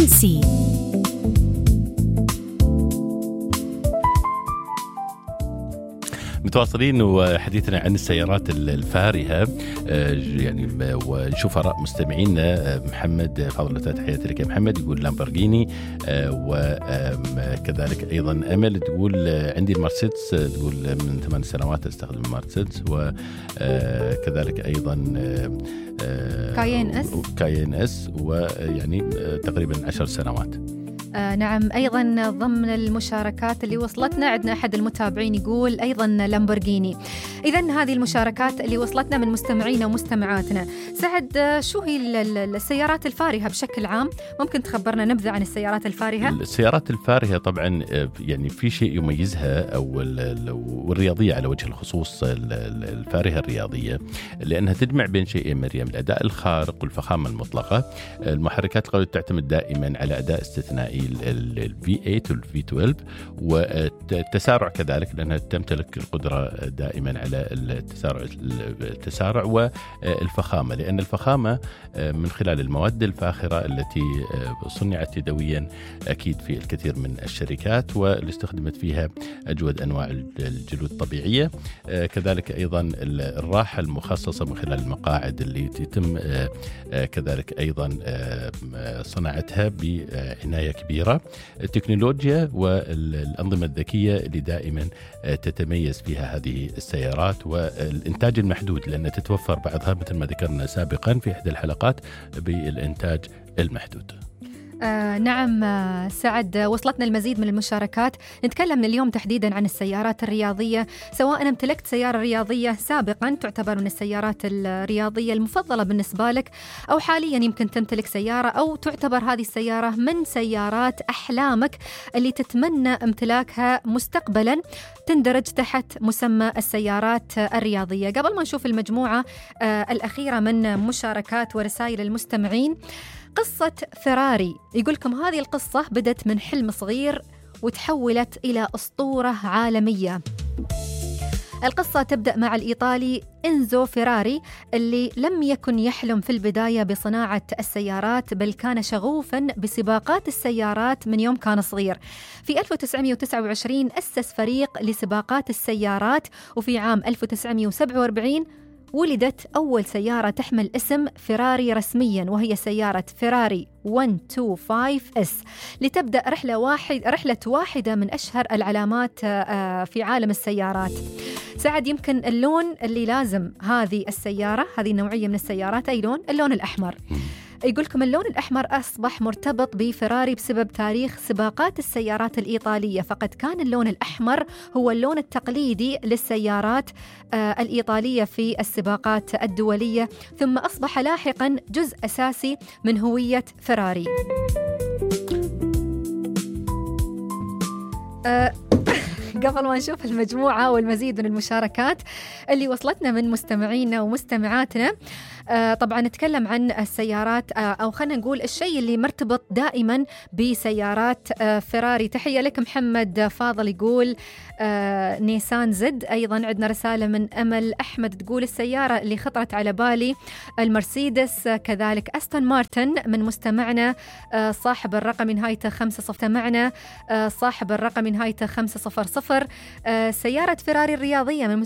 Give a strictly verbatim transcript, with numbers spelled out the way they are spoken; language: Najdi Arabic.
فرنسي. متواصلين وحديثنا عن السيارات الفارهة، يعني ونشوف آراء مستمعينا. محمد فاضل، تحياتي لك يا محمد، يقول لامبورغيني، وكذلك أيضا أمل تقول عندي المرسيدس، تقول من ثمان سنوات أستخدم المرسيدس، وكذلك أيضا كاين اس كاين اس ويعني تقريبا عشر سنوات. آه نعم، أيضا ضمن المشاركات اللي وصلتنا عندنا أحد المتابعين يقول أيضا لامبورغيني. إذن هذه المشاركات اللي وصلتنا من مستمعينا ومستمعاتنا. سعد، شو هي السيارات الفارهة بشكل عام؟ ممكن تخبرنا نبذة عن السيارات الفارهة؟ السيارات الفارهة طبعا يعني في شيء يميزها، أو والرياضية على وجه الخصوص، الفارهة الرياضية، لأنها تجمع بين شيئين مريم: الأداء الخارق والفخامة المطلقة. المحركات القوية تعتمد دائما على أداء استثنائي ال في ثمانية وال في اثنا عشر، والتسارع كذلك، لأنها تمتلك القدرة دائما على التسارع التسارع والفخامة، لأن الفخامة من خلال المواد الفاخرة التي صنعت يدويا أكيد في الكثير من الشركات، واللي استخدمت فيها أجود أنواع الجلود الطبيعية. كذلك أيضا الراحة المخصصة من خلال المقاعد اللي يتم كذلك أيضا صناعتها بعناية كبيرة. التكنولوجيا والأنظمة الذكية اللي دائما تتميز فيها هذه السيارات، والإنتاج المحدود، لأن تتوفر بعضها مثل ما ذكرنا سابقا في إحدى الحلقات بالإنتاج المحدود. آه نعم آه سعد، وصلتنا المزيد من المشاركات. نتكلم اليوم تحديدا عن السيارات الرياضية. سواء امتلكت سيارة رياضية سابقا تعتبر من السيارات الرياضية المفضلة بالنسبة لك، أو حاليا يمكن تمتلك سيارة أو تعتبر هذه السيارة من سيارات أحلامك اللي تتمنى امتلاكها مستقبلا، تندرج تحت مسمى السيارات الرياضية. قبل ما نشوف المجموعة آه الأخيرة من مشاركات ورسائل المستمعين، قصة فيراري يقولكم هذه القصة بدت من حلم صغير وتحولت إلى أسطورة عالمية. القصة تبدأ مع الإيطالي إنزو فيراري، اللي لم يكن يحلم في البداية بصناعة السيارات، بل كان شغوفاً بسباقات السيارات من يوم كان صغير. في ألف وتسعمائة وتسعة وعشرين أسس فريق لسباقات السيارات، وفي عام ألف وتسعمائة وسبعة وأربعين ولدت أول سيارة تحمل اسم فيراري رسمياً، وهي سيارة فيراري مئة وخمسة وعشرين إس، لتبدأ رحلة واحد رحلة واحدة من أشهر العلامات في عالم السيارات. سعد، يمكن اللون اللي لازم هذه السيارة، هذه النوعية من السيارات، أي لون؟ اللون الأحمر. يقولكم اللون الأحمر أصبح مرتبط بفيراري بسبب تاريخ سباقات السيارات الإيطالية، فقد كان اللون الأحمر هو اللون التقليدي للسيارات آه الإيطالية في السباقات الدولية، ثم أصبح لاحقا جزء أساسي من هوية فيراري. آه قبل ما نشوف المجموعة والمزيد من المشاركات اللي وصلتنا من مستمعينا ومستمعاتنا، آه طبعا نتكلم عن السيارات، آه أو خلينا نقول الشيء اللي مرتبط دائما بسيارات آه فيراري. تحية لك محمد فاضل، يقول آه نيسان زد. أيضا عندنا رسالة من أمل أحمد تقول السيارة اللي خطرت على بالي المرسيدس. آه كذلك أستون مارتن من مستمعنا آه صاحب الرقم نهايته خمسة صفر معنا، آه صاحب الرقم نهايته خمسة صفر صفر. آه سيارة فيراري الرياضية من